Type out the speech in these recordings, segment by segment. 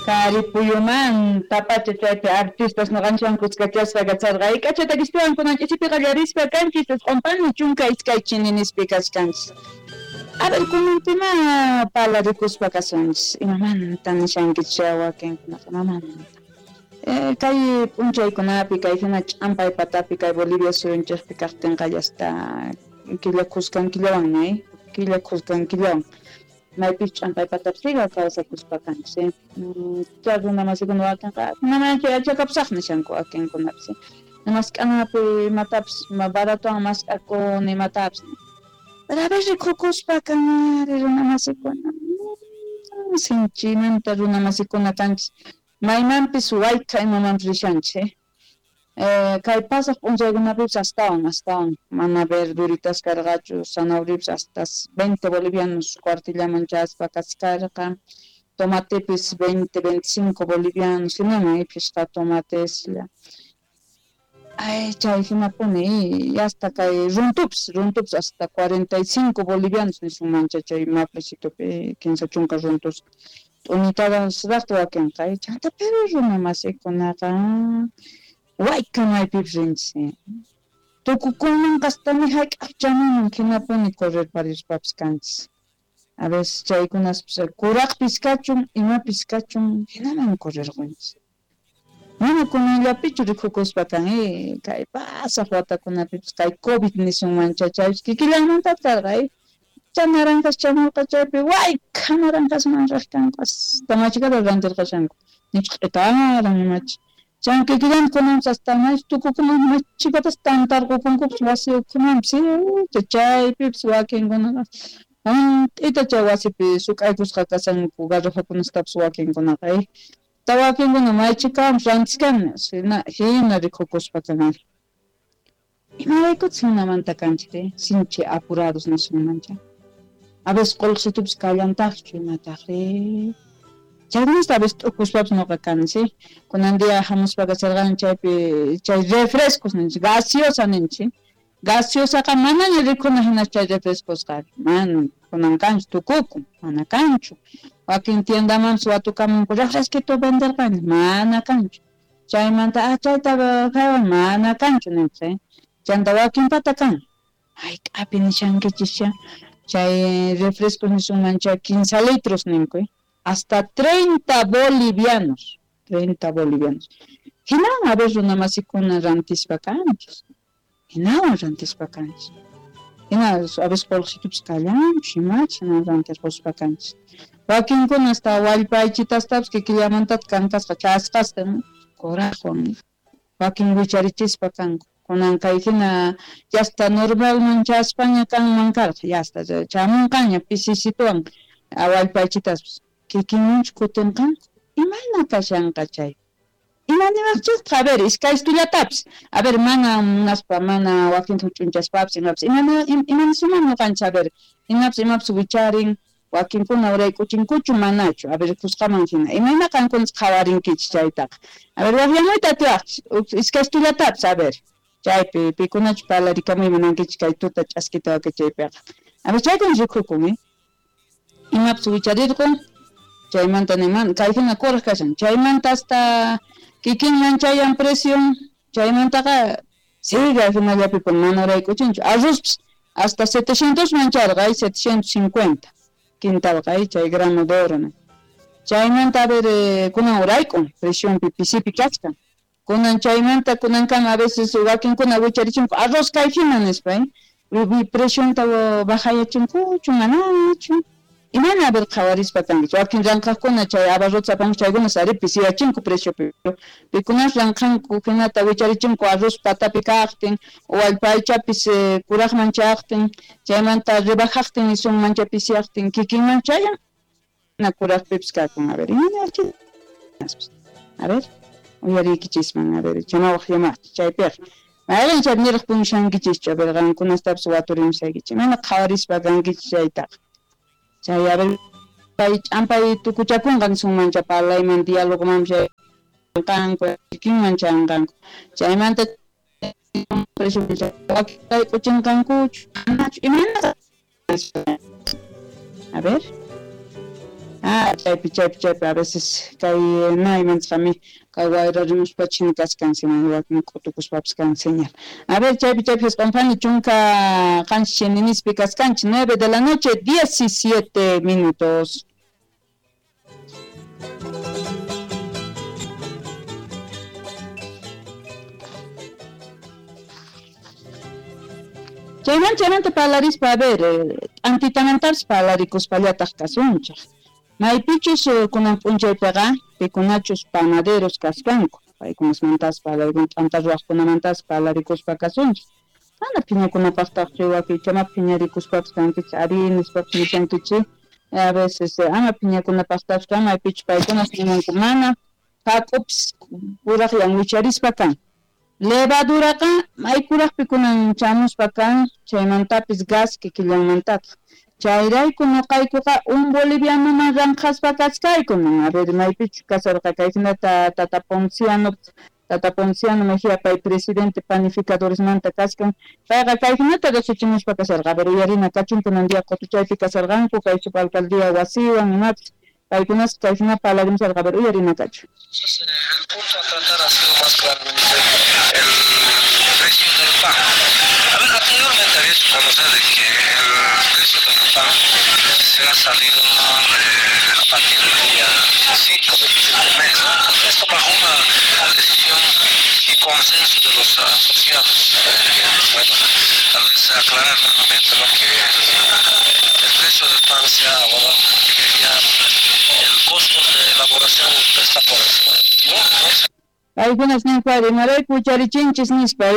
Taripuyumantapacha chaypi artistas noqanchikwan kuskachasqa kacharqa. K'acha takispiwan kunan ch'isipi qallarispa kanchis isq'unpani 12 chininispi kachkanchis. A ver, kunanpima palarikuspa kasunchis. Imamanta nishankichis wakinkunaqa imamanta. Kay p'unchaykunapi kay hina ch'ampay patapi kay Bolivia suyunchikpi kaqtinqa yasta killa khuskan killawan ña killa khuskan killawan maypis ch'ampay patapi siga kawsakuspa kanchis. Chay runa masikuna wakinqa kunamanchu yachakapusaq nishanku wakinkunapis. Mask'anapi imatapis baratowan mask'akuni imatapis. Pero a ver rikukuspa kanari runa masikuna sinchimanta runa masikuna kanchis. Maymanpis waykha imamanpis rishanchis. Kay pasaq p'unchaykunapipis astawan astawan mana verduritas karqachu zanahoriapis hasta 20 bolivianos cuartillaman chaspa kachkarqa tomatepis 20 25 bolivianos hinaman phishqa tomateslla ay chay hinapuni y hasta kay runtupis hasta 45 bolivianos nisunmancha chay maplecitopi 30 runtus t'unitadas wakinqa chanta pero runa masikunaqa waykha maypipis rinchis tukukunmanqa hasta ni hayk'aq chamunman hinapuni correrparispapis kanchis. A veces chaykunaspis kuraqpis kachun imapis kachun hinaman correrqunchis. Mana kunanllapichu rikukuspa kan kay pasaq watakunapipis kay COVID nisunmancha chaypis kikillanmantataq karqa chay naranjas chamurqa chaypi waykha naranjasman riq kanku hasta machikata rantirqashanku nichu q'itaran imachi chay kikillanta kunanpis hasta tukukuman machikatas tantarqukunkupis wasi ukhumanpis chaypipis wakinkunaqa hunt'ita chay wasipi suk'aykusqa kashanku garrafakunastapis wakinkunaqa wakinkuna maychikawanpis rantiskan hina rikukuspa kanari. Imaraykutaq hinamanta kanchik sinchi apurados nisunmancha. A veces qullqisitupis kallantaqchu imataqri. Chaykunasta a veces t'ukuspapis noqa kani sí. Kunan día hamuspa kacharqani chaypi chay refrescos ninchik gaseosa ninchik. Gaseosaqa manaña rikuna hina chay refrescosqa mana kunan kanchu tukukun mana kanchu. Wakin tiendamanpis watukamunku refresquito venderqani mana kanchu. Chaymanta chayta kaywan mana kanchu ninchik chanta wakinpata kan. Hayk'api nishankichischa chay refrescos nisunmancha 15 litros ninku hasta 30 bolivianos 30 bolivianos. Hinawan a ver runa masikuna rantispa kanchis. Hinawan rantispa kanchis. Hina a veces qullqisitupis kallanchu imachi hina rantirquspa kanchis. Wakinkuna hasta wallpaychitastapis kikillamantataq kankasqa chasqasta kuraqwan wakin wicharichispa kanku. Kunan kay hina yasta normalman chaspaña kanman karqa yasta chamunqaña pisisituwan wallpaychitaspis kikinmanchu kutinqanku imayna kashanqa chay. Imanimaqchikqa a ver iskaystullatapis a ver mana munaspa mana wakinta huch'unchaspapis imapis imanisuman ñuqanchik a ver imapis imapis wicharin wakinkuna urayk'uchinkuchu manachu a ver kusqaman hina imayna qankunas qhawarinkichis chaytaqa a ver waqyamuyta atiwaqchis iskaystullatapis a ver chaypi pikunachu parlarikamuy munankichis kay tuta ch'askita wakachaypiqa a ver chaykuna rikukun imapis wicharirqun chaymanta niman kay hina kuraq kashan chaymanta hasta kikinman chayan precion chaymantaqa sigue hinallapi mana urayk'uchinchu arrozpis hasta 700 man charqa 750 quintalqa chay grano de oro chaymanta a ver kunan urayk'un precionpi pisipi kachkan kunan chaymanta kunankama a veces wakinkuna wicharichinko arroz kay hina nispa precionta bajayachinkuchu manachu imana a ver qhawarispa kankichis wakin ranqhaqkuna chay abarrotes apanku chaykunas ari pisiyachinku preciopi pikunas ranqhanku hinata wicharichinko arroz patapi kaqtin wallpaychapis kuraqman chaqtin chaymanta rebajaqtin nisunmancha pisiyaqtin kikinman chayan na kuraqpipis kakun a ver imana a ver uyariykichisman a ver chamawaq llamaqchis chaypiqa mayqin chay niraq punishankichischu a ver qankunastapis waturimusaykichis imayna qhawarispa kankichis chaytaqa chay a ver kay ch'ampay tukuchakunqa nisunmancha parlayman dialogoman chanqanku kikinman chanqanku chaymanta k'uchinqankuchu manachu imayna a ver Chaypi chaypi chaypi a veces kay naymanchaqmi kay wayra rimuspa china kachkan wakin k'utukuspapis kan señal. A ver, chaypi chaypi jisq'unphani 17 chininispi kaskanchik 9 de la noche 17 minutos. Chayman chaymanta parlarispa, a ver, t'antitamantapis parlarikuspallataq kasunchaq. Maypichus kunan p'unchaypiqa pikunachus panaderos kaskanku, paykunasmantas parlarikun, t'anta ruwaqkunamantas parlarikuspa kasunchik. Mana phiñakunapaqtaqchu wakichama phiñarikuspapis kankichik, ari nispapis nishankichik, a veces ama phiñakunapaqtaqchu kan, maypichus paykunas nimunku mana hak'upis puraqllan wicharispa kan. Levaduraqa maykuraqpi kunan chamuspa kan, chaymantapis gas kikillanmantataq. Chayrayku nuqaykuqa un bolivianoman ranqhaspa kachkayku, a ver maypichus kasarqa kayhinata Tata Ponciano Mejía pay presidente panificadoresmanta kachkan, payqa kayhinata riqsichimuspa kasarqa, a ver uyarina kachun kunan día qutuchaypi kasarqanku kay subalcaldía wasiwan imapis, paykunas kayhina parlarimusarqa, a ver uyarina kachun. Entonces, el punto a tratar ha sido más claramente el precio del pan. A ver, anteriormente había hecho conocer de que el precio del pan se ha salido a partir del día 5 de este mes, ¿no? Esto bajo una decisión y consenso de los asociados. Bueno, tal vez aclarar nuevamente, ¿no?, que el precio del pan se ha abordado porque ya el costo de elaboración está por encima, ¿no? Paykunas ninku ari imarayku wicharichinchis nispa,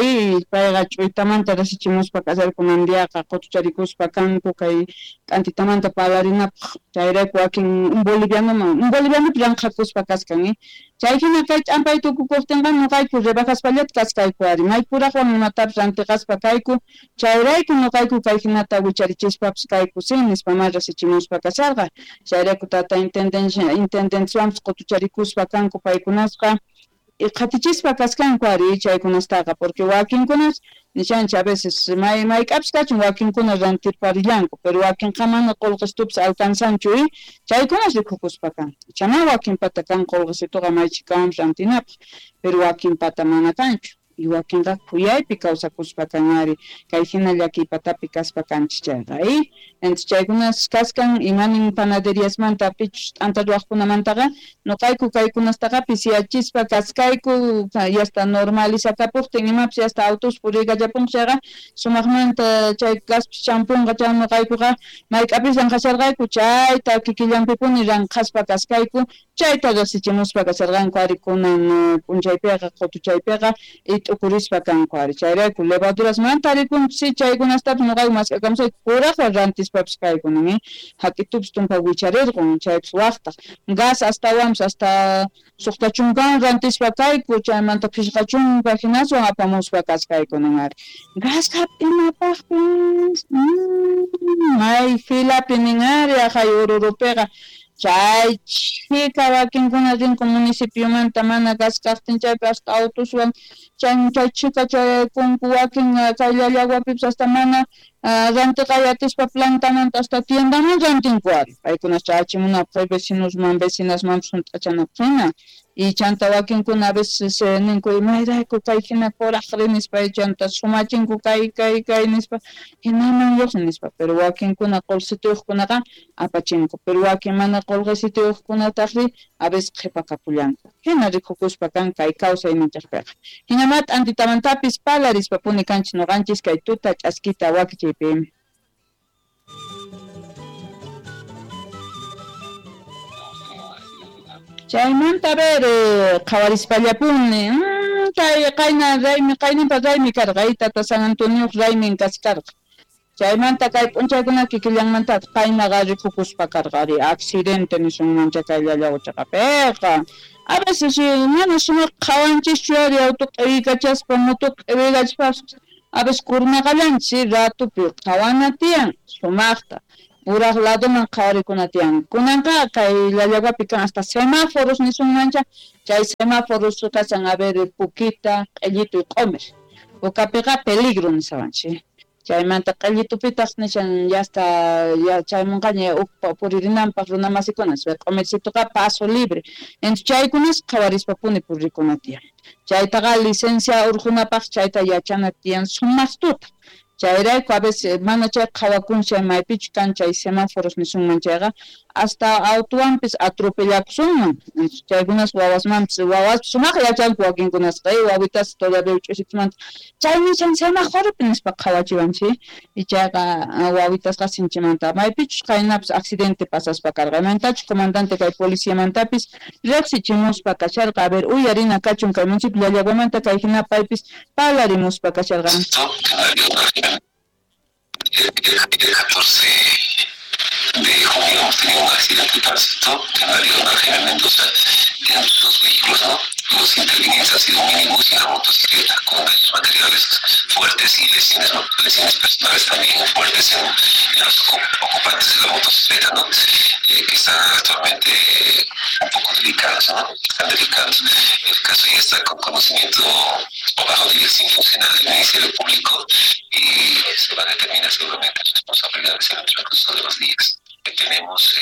payqa ch'uytamanta rasichimuspa kasarkunan diaqa qutucharikuspa kanku kay t'antitamanta parlarinapaq, chayrayku wakin un bolivianoman un bolivianopi ranqhakuspa kaskan, chay hina kay ch'ampay tukukuqtinqa nuqayku rebajaspallata kaskayku ari maykuraqwan imatapis rantiqaspa kayku, chayrayku nuqayku kay hinata wicharichispapis kayku si nispa ma rasichimuspa kasarqa, chayrayku tata intendenciawanpis qutucharikuspa kanku paykunasqa qhatichispa kaskanku ari chaykunastaqa, porque wakinkunas nishanchik a veces mayk'apis kachun wakinkuna rantirparillanku, pero wakinqa mana qullqisitupis alcanzanchu, chaykunas rikukuspa kan, chana wakinpata kan qullqisituqa maychikawanpis rantinapaq, pero wakinpata mana kanchu, y wakinqa khuyaypi kawsakuspa kan ari kay hina llakiypatapi kaspa kanchik chayqa, entonces chaykunas kaskan imanin panaderiasmanta pichus t'anta ruwaqkunamantaqa nuqayku kaykunastaqa pisiyachispa kaskayku, yasta normalizakapuqtin imapis yasta autos puriykallapunqa chayqa sumaqmanta chay gaspis champunqa chay nuqaykuqa mayk'apis ranqhasharqayku chayta kikillanpipuni ranqhaspa kaskayku, chayta riqsichimuspa kasharqanku ari kunan p'unchaypiqa qutuchaypiqa t'ukurispa kanku ari, chayrayku levadurasmanta rikunchis chaykunastapis nuqayku mask'akamusayku kuraqwan rantispapis kaykunan, hak'itupis tumpa wicharirqun chaypis waqtaq gas astawanpis hasta 60 rantispa kayku, chaymanta 50 hinaswan apamuspa kaskaykunan ari gas hap'inapaqpis may filapi nin ari aqhay Oruropiqa chay chhika wakinkuna rinku municipiomanta mana gas kaqtin chaypi hasta autoswan chay chhika chayaykunku wakin kay Llallawapipis hasta mana rantiqay atispa plantamanta hasta tiendaman rantinku ari paykunas chayachimunapaq vecinosman vecinasmanpis hunt'achanapaq hina, y chanta wakinkuna a veces ninku imayrayku kay hina kuraqri nispa chanta sumachinku kay kay kay nispa hinaman lluqsin nispa, pero wakinkuna qullqisituyuqkunaqa apachinku, pero wakin mana qullqisituyuqkunataqri a veces qhipakapullanku, hina rikukuspa kan kay kawsayninchikpiqa. Hinamá t'antitamantapis parlarispapuni kanchik nuqanchis kay tuta ch'askita wakichiypi. Chaymanta a ver qhawarispallapuni kay qayna raymi qayninpa raymi karqa, tata San Antonioq raymin kaskarqa, chaymanta kay p'unchaykuna kikillanmantataq qaynaqa rikukuspa karqa ari accidente nisunmancha kay Llallawa chaqapiqa, a veces mana sumaq qhawanchischu ari auto q'iwiykachaspa moto q'iwiykachaspa a veces kurnaqallanchis ratupi qhawana tiyan sumaqta puraq ladoman qhawarikuna tiyan, kunanqa kay Llallawapi kan hasta semáforos nisunmancha, chay semáforos kasan a ver pukita, q'illitu y q'umir, pukapiqa peligro nisawanchik, Chaymanta q'illitupitaq nishan ya está ya chaymunqaña uj puririnanpaq runamasikuna q'umircituqa paso libre. Entonces chaykunas qhawarispapuni purikuna tiyan. Chaytaqa licencia urqunapaq chayta yachana tiyan sumaqtuta. Chayrayku a veces mana chay qhawakun chay maypichu kan chay semáforos nisunman chayqa hasta autuwanpis atropellakusunman. Chaykunas wawasmanpis wawaspis sumaq yachanku wakinkunasqa wawitas todavía uch'usitusmanta chay nishan semáforopi nispa qhawachiwanchik y chayqa wawitasqa sinchimanta maypichus qaynapis accidente pasaspa karqa maymantachu comandante kay policiamantapis riqsichimuspa kasharqa a ver uyarina kachun kay municipio Llallaguamanta kay hina paypis parlarimuspa kasharqa. El 14 de junio hemos tenido un accidente de tránsito en la vía Don Jaime Mendoza entre dos vehículos, ¿no? Los intervinientes han sido un minibús y una motocicleta con daños materiales fuertes y lesiones, ¿no? Lesiones personales también fuertes en los ocupantes de la motocicleta, ¿no? Que están actualmente un poco delicados, ¿no? Están delicados. El caso ya está con conocimiento o bajo dirección funcional del Ministerio Público y se va a determinar seguramente responsabilidades en el transcurso de los días. Tenemos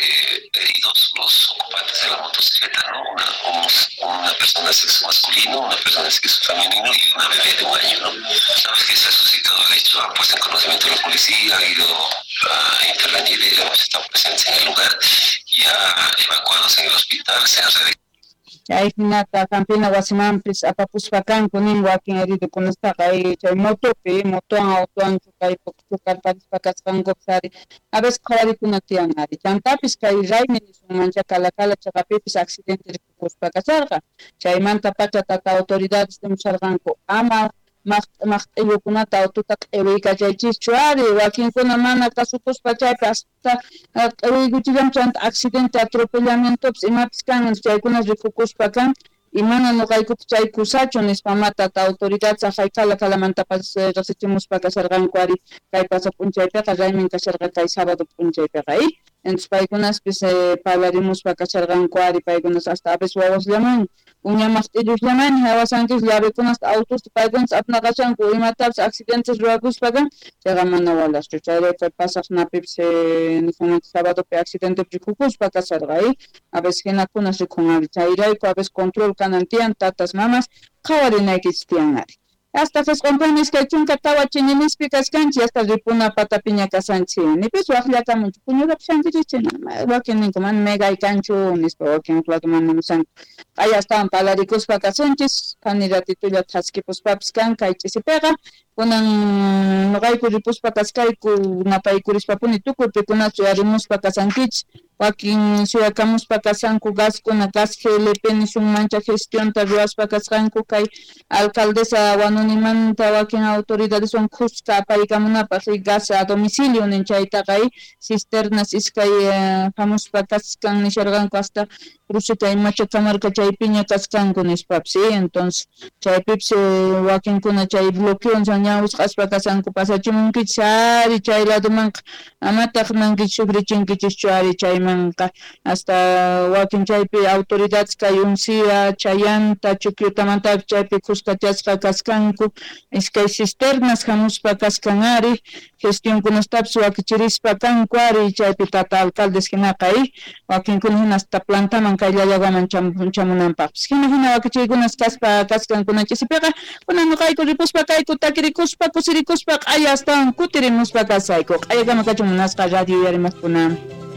heridos los ocupantes de la motocicleta, ¿no? Una persona de sexo masculino, una persona de sexo femenino y una bebé de 1 año, ¿no? Sabes que se ha suscitado el hecho, han puesto en conocimiento de la policía, ha ido a intervenir, digamos, están presentes en el lugar, ya evacuados en el hospital, se han realizado. Chay hinata hampina wasimanpis apapuspa kanku nin wakin heridokunastaqa chay motopi motowan autowan chukarparispa kasqankupas ari a veces qhawarikuna tiyan ari chantapis kay raymi nisunmancha Calacala chaqapipis accidente rikukuspa kasharqa chaymanta pacha tata autoridades nimusharqanku ama maqt'illukunata autota q'iwiykachaychischu ari wakinkuna mana kasukuspa chaypi hasta q'iwiykuchillan chanta accidente atropellamientopis imapis kan chaykuna rikukuspa kan y mana nuqaykupi chay kusachu nispa ma tata autoridad saqay Calacalamantapas riqsichimuspa kasharqanku ari kay pasa p'unchaypiqa raymin kasharqa kay sábado p'unchaypiqa entonces paykunaspis parlarimuspa kasharqanku ari paykunas hasta a veces wawasllaman uña maqt'illusllaman hawasanchis llavekunasta autosta paykunas apnaqashanku imatapis accidentes ruwakuspa kan chayqa mana walaschu chayrayku pasaq napipis nisunman sabadopi accidentepi rikukuspa kasharqa a veces hinakunas rikun ari chayrayku a veces control kanan tiyan tatas mamas qhawarinaykichis tiyan ari hasta qisqunpuni 24 chininispi kaskanchik hasta ripuna patapiña kasanchik nipis waqllakamunchu puñurapushankichik wakin ninku mana megay kanchu nispa wakin laduman nimushanku q'aya astawan parlarikuspa kasunchis phani ratitulla thaskipuspapis kan kay ch'isipiqa kunan nuqayku ripuspa kaskayku napaykurishpapuni tukuy pikunachu uyarimuspa kasankichik wakin suyakamuspa kasanku gaskuna gas GLP nisunmancha gestionta ruwaspa kasqanku kay alcaldesa Wanunimanta wakin autoridadeswan khuska apaykamunapaq gas a domicilio nin chaytaqa cisternas iskay hamuspa kaskan nisharqanku hasta cruceta imacha kamarka chaypiña kaskanku nispapis entonces chaypipis wakinkuna chay bloqueo ña wisq'aspa kasanku pasachimunkichis ari chay ladumanqa amataq mankichis sufrichinkichischu ari chaymanqa hasta wakin chaypi autoridades kay Uncia, Chayanta, Chukyutamantapis chaypi khuskachasqa kaskanku iskay cisternas hamuspa kaskan ari gestionkunastapis wakichirispa kanku ari chaypi tata alcaldes hinaqa wakinkuna hina hasta plantaman kay Llallaguaman chamunanpaqpis hina hina wakichiykunas kaspa kaskankunan ch'isipiqa kunan nuqayku ripuspa kayku takirikuspa kusirikuspa q'aya astawan kutirimuspa kasayku q'ayakama kachun munasqa radio uyarimuqkuna.